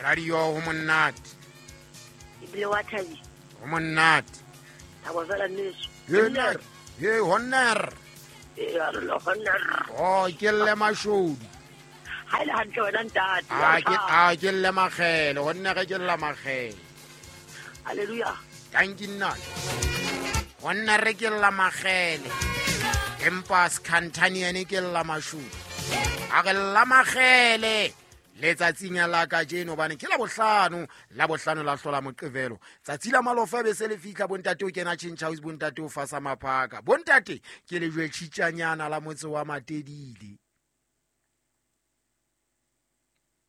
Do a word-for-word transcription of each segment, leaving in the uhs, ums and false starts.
Radio ho monate. Ebile wa thabisa. Ho monate. Thabo fela nneso. He nna, he honor. Ee, a re le honor. Oh, ke lle mashodu. Ha ile hantle wena ntate. A ke a ke lle makgele, honne re ke lla makgele. Hallelujah. Thank you nna. Honne re ke lla makgele. Empa Skhantaniane ke lla mashodu. A re lla makgele. Letsatsing la kajeno hobane ke la bohlano, la bohlano la hlola Moqebelo. Tsatsi la malofa be se le fihla, bontate o kena Change House, bontate o fasa maphaka. Bontate ke lejwe tjhitjanyana la motse wa Matedile.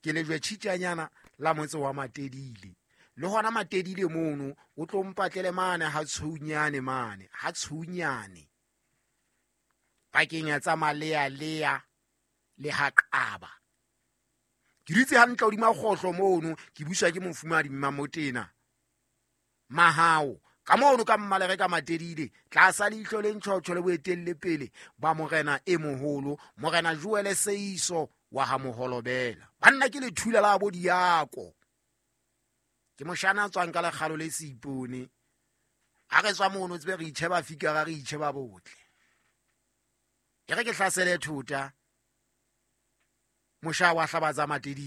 Ke lejwe tjhitjanyana la motse wa Matedile. Le hona Matedile mono o tlo mpatlele mane ha tshunyane mane, ha tshunyane. Pakeng ya tsa Malea lea le ha Qaba. Ke dutse hantle hodima kgohlo mono, ke buswa ke mofumahadi Mmamotena. Mahao, ka mono ka mmalere ka Matedile, tlasa leihlo le ntjhotjho le boetelle pele ba morena e moholo, morena Joel Seiso wa ha Moholobela. Banna ke lethula la bo diako. Ke moshana a tswang ka lekgalo le seipone. Ha re tswa mono tsebe re itjheba fikara, re itjheba botle. E re ke hlasele thota. Mosha wa hlabatsa Matedile.